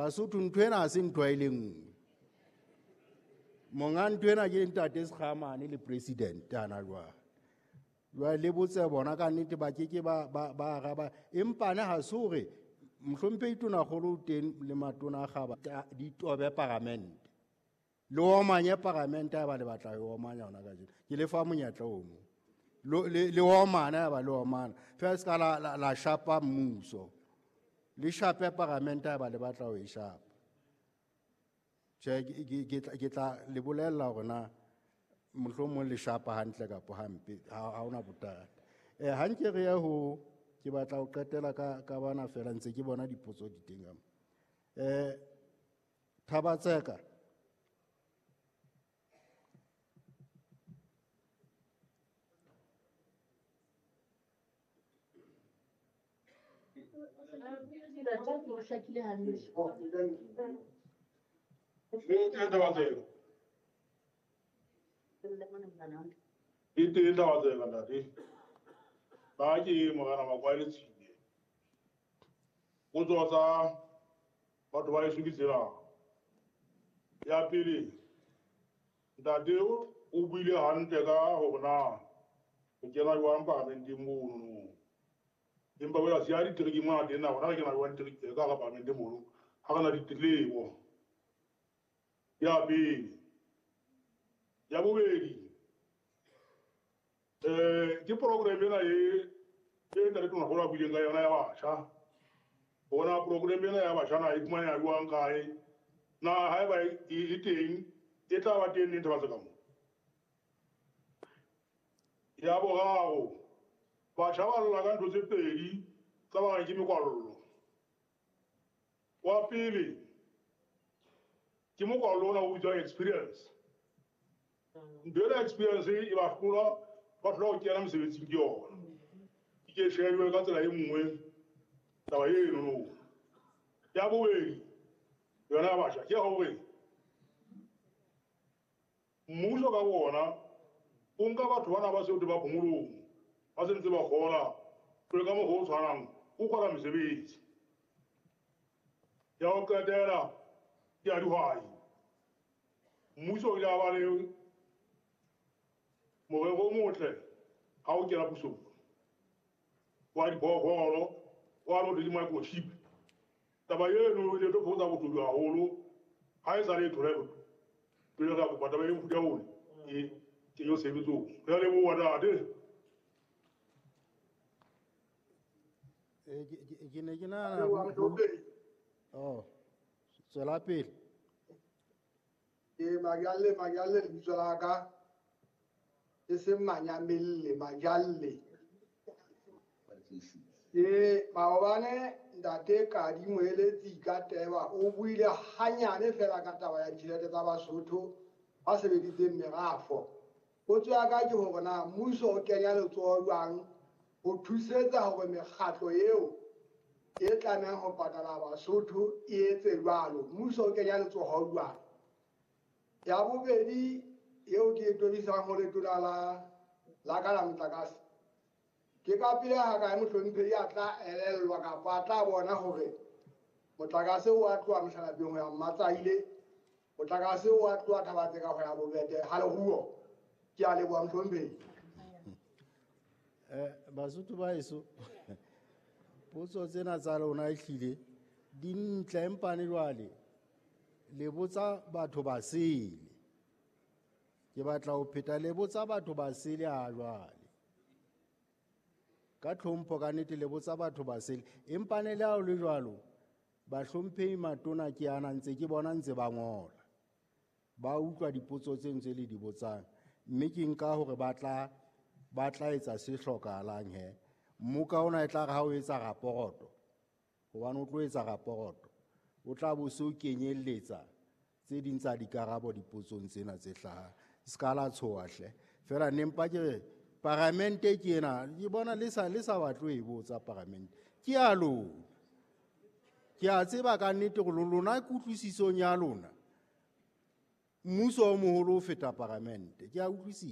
Basotho ntho ena ha se ntho e le nngwe. Monga ntho ena ke ntate Sekgamane le president ana jwale. Jwale le botse bona ka nnete ba ke ke ba araba, empa ne ha se hore mohlomphehi Tonakgolo o teng le matona a kgaba di tobe paramente. Le omanye paramente ha ba le batla ho omanya hona kajeno. Ke le fa monyetla ono. Le omana ha ba le omana. Feela se ka la shapa mmuso. Le shape paramente ha ba le batla ho e shapa. Tjhe, ke tla le bolella hore na mohlomong le shapa hantle kapa hampe, ha hona bothata. Ha nke re ye ho, ke batla ho qetela ka bana feela ntse ke bona dipotso di teng ka mo. Thabatseka. E teng Thabatseka ntate. Ba ke morena Makwale Tshile. Potso tsa batho ba heso ke tsena. Ya pele, ntate o buile hantle ka hore na re kena jwang paramenteng mono. Empa wena siya ditereke mona teng na rona re kena jwang ditereke ka hara paramente mono, ha re na ditletlebo. Ya pele. Ya bobedi, ke program ena e ntate Tonakgolo a buileng ka yona ya batjha. Bona program ena ya batjha na e fumaneha jwang kae? Na haeba e teng, e tla ba teng neng Thabatseka mo? Ya boraro, batjha ba lla ka ntho tse pedi tsa ba reng ke mekwallo. Wa pele ke mokwallo ona o bitswang experience. Ntho ena experience e ba hlola, ba hlola ho kena mosebetsing ke yona. E ke shejwe ka tsela e nngwe taba eno no. Ya bobedi yona ya batjha ke hore mmuso ka bona o nka batho bana ba seo ba phomolong, ba sentse ba kgola, jwale ka mokgwa o tshwanang o kgola mesebetsi. Ya ho qetela ke ya dihwai. Mmuso o ile a ba le morero o motle ha o kena pusong wa diphoofolo, wa lo di microchip. Taba eno e ile tlo fokotsa botsotsi haholo ha e sa le thole pele ra kopa taba e mofuta ona e kenyo tshebetsong. Re a leboha ntate. Ke ne ke nahana oh, tswela pele. Ke Majalle, Majalle lebitso la ka. E seng Manyamelle, Majalle. Ke maobane ntate Kadi Moeletsi ka teba o buile hanyane fela ka taba ya ditjhelete tsa Basotho ba sebeditseng merafo. Potso ya ka ke hore na mmuso o kenya letsoho jwang ho thusetsa hore mekgatlo eo e tlamehang ho patala Basotho e etse jwalo. Mmuso o kenya letsoho jwang? Ya bobedi eo ke e tobisang ho letona la ka la motlakase. Ke ka pele ha kae mohlomphehi a tla elellwa kapa a tla bona hore motlakase o a tloha Mohlalapeng ho ya Mmatsaile, motlakase o a tloha Thabatseka ho ya Bobete ha leruo. Ke a leboha mohlomphehi. Basotho ba heso, potso tsena tsa lona ehlile di ntle, empa ne jwale le botsa batho ba sele. Ke batla ho pheta, le botsa batho ba sele ha jwale. Ka tlhompho ka nnete le botsa batho ba sele, empa ne le ha ho le jwalo, bahlomphehi matona ke ana ntse ke bona ntse ba ngola. Ba utlwa dipotso tse ntse le di botsang, mme ke nka hore ba tla etsa se hlokahalang he. Mmoka ona e tla re ha o etsa raporoto, hobane o tlo etsa raporoto, o tla bo se o kenyelletsa tse ding tsa dikarabo dipotsong tsena tse hlahang. Se ka la tshoha hle. Feela ne mpa ke re paramente ke ena, ke bona le sa batle ho e botsa paramente. Ke ya lona. Ke a tseba ka nnete hore lona kutlwisisong ya lona, mmuso o moholo o feta paramente. Ke a utlwisisa.